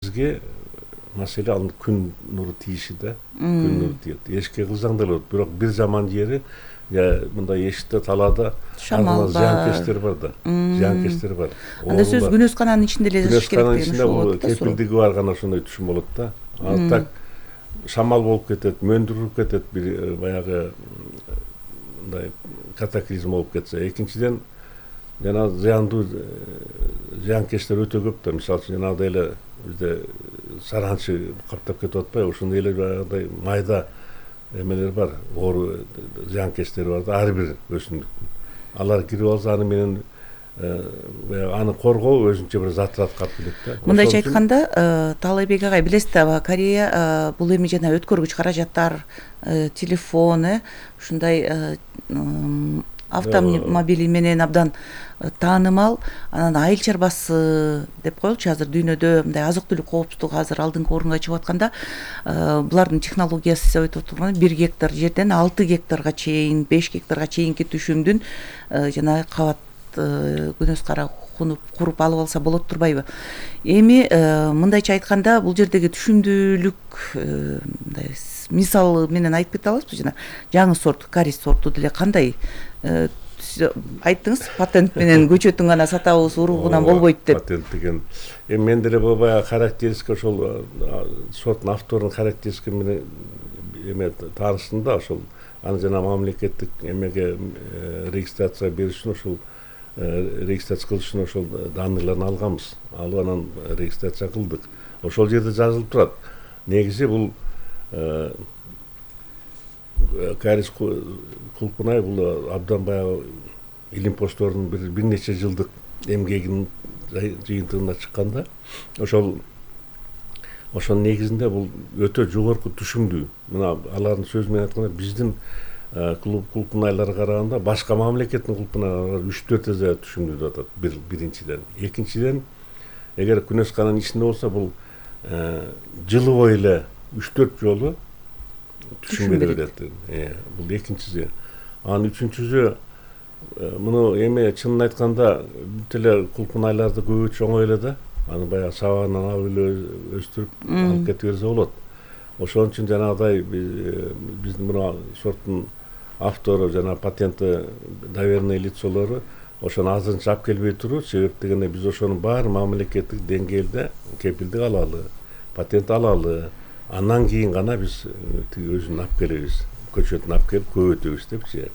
бизге маселе ал күн нуру тийиши да. Күн нуру тиет. Эшикке кылсаң да болот, бирок бир жаман жери мындай эшикте талаада шамал бар, зыянкечтер бар да. Зыянкечтер бар. Анда сөз күнөскананын ичинде эле жашаш керек деген ушул болот. Кепилдиги бар гана ошондой түшүм болот да. Ал так шамал болуп кетет, мөндүрүп кетет, бир баягы мындай катаклизм болуп кетсе. Экинчиден жана зыяндуу зыянкечтер өтө көп да. Мисалы үчүн жанагыдай эле бизде саранчы каптап кетип атпайбы? Ошондой эле баягыдай майда эмелер бар, оору зыянкечтери бар да, ар бир өсүмдүктүн. Алар кирип алса аны менен аны коргоо өзүнчө бир затырат калып келет да. Мындайча айтканда, Таалайбек агай, билесиз да, Корея бул эми жана өткөргүч каражаттар, телефон, ушундай автомобили менен абдан таанымал. Анан айыл чарбасы деп коелучу, азыр дүйнөдө мындай азык түлүк коопсуздугу азыр алдыңкы орунга чыгып атканда, булардын технологиясы деп айтып турган 1 гектар жерден 6 гектарга чейин, 5 гектарга чейинки түшүмдүн жана кабат күнөс кара куруп алып алса болот турбайбы? Эми мындайча айтканда, бул жердеги түшүмдүүлүк мындай мисал менен айтып кете аласызбы? Жана жаңы сорт, карис сорту деле кандай? Айттыңыз, патент менен көчөтүн гана сатабыз, уругунан болбойт деп. Патент деген эми мен деле баягы характеристика ошол сорттун авторунун характеристика менен эме таанышым да, ошол аны жана мамлекеттик эмеге регистрация бериш үчүн ошол регистрация кылыш үчүн ошол данныйларын алганбыз. Алып анан регистрация кылдык. Ошол жерде жазылып турат. Негизи бул карис кулпунай бул абдан баягы илимпоздордун бир нече жылдык эмгегинин жыйынтыгына чыкканда, ошонун негизинде бул өтө жогорку түшүмдүү. Мына алардын сөзү менен айтканда, биздин кулпунайларга караганда башка мамлекеттин кулпунайлары 3-4 эсе түшүмдүү деп атат. Биринчиден. Экинчиден, эгер күнөскананын ичинде болсо, бул жылы бою эле 3-4 жолу түшүм бере берет. Бул экинчиси. Анан үчүнчүсү, муну эме чынын айтканда бүт эле кулпунайларды көбөйтүш оңой эле да. Аны баягы сабагынан алып эле өстүрүп алып кете берсе болот. Ошон үчүн жанагыдай биздин мына сорттун автору жана патенти доверенный лицолору ошону азырынча алып келбей туруу, себеп дегенде биз ошонун баары мамлекеттик деңгээлде кепилдик алалы, патент алалы, андан кийин гана биз тиги өзүн алып келебиз, көчөтүн алып келип көбөйтөбүз депчи.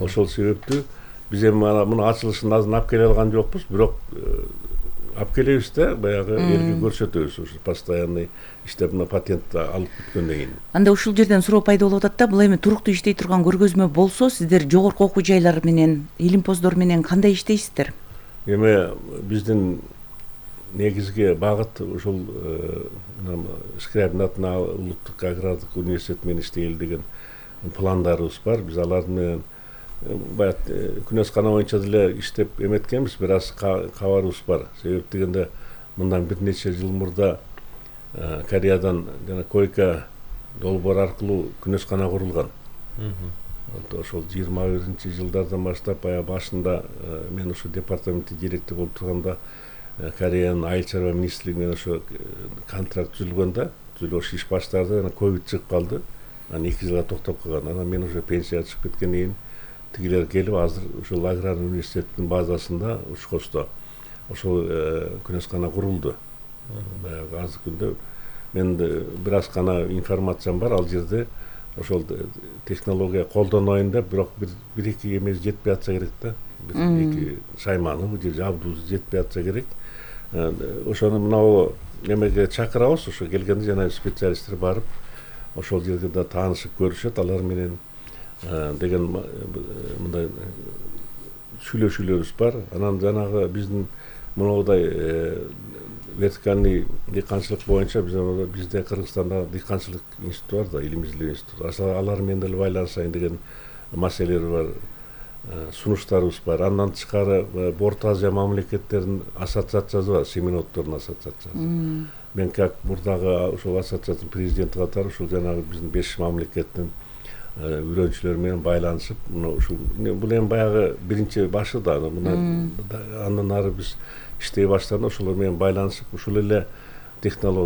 Ошол себептүү биз эми муну ачылышын азыр алып келе алган жокпуз, бирок алып келебиз да, баягы элге көрсөтөбүз, ушу постоянный иштеп мына патент алып бүткөндөн кийин. Анда ушул жерден суроо пайда болуп атат да, бул эми туруктуу иштей турган көргөзмө болсо, сиздер жогорку окуу жайлар менен, илимпоздор менен кандай иштейсиздер? Эми биздин негизги багыт ушул Скрябин атына улуттук агрардык университет менен иштейли деген пландарыбыз бар. Биз алар менен баягы күнөскана боюнча деле иштеп эметкенбиз, бир аз кабарыбыз бар. Себеп дегенде мындан бир нече жыл мурда Кореядан жана койка долбоор аркылуу күнөскана курулган. Ошол 21 жылдардан баштап баягы башында мен ушу департаментте директор болуп турганда Кореянын айыл чарба министрлиги менен ошо контракт түзүлгөндө, ошо иш баштарды, анан ковид чыгып калды. Анан 2 жылга токтоп калган. Анан мен уже пенсияга чыгып кеткенден кийин тигилер келип, азыр ушул аграр университеттин базасында Учкосто ошол күнөскана курулду. Баягы азыр күндө мен бир аз гана информациям бар, ал жерде ошол технология колдоноюн деп, бирок бир-эки эмеси жетпей атса керек да. Бир-эки шайманы же жабдуусу жетпей атса керек. Ошону мынау эмеге чакырабыз, ошо келгенде жана специалисттер барып, ошол жерде да таанышып көрүшөт, алар менен деген мындай сүйлөшүүлөрүбүз бар. Анан жанагы биздин мындай вертикальный дыйканчылык боюнча бизде Кыргызстанда дыйканчылык институту бар да, илим изилдөө институту. Алар менен деле байланышайын деген маселелер бар, сунуштарыбыз бар. Андан тышкары Орто Азия мамлекеттеринин ассоциациясы бар, семиноттордун ассоциациясы. Мен как мурдагы ушул ассоциациянын президенти катары ушул жанагы биздин 5 мамлекеттин үйрөнчүлөр менен байланышып, ушул бул эми баягы биринчи башы да, андан ары биз иштей баштадык, ошолор менен байланышып, ушул эле технология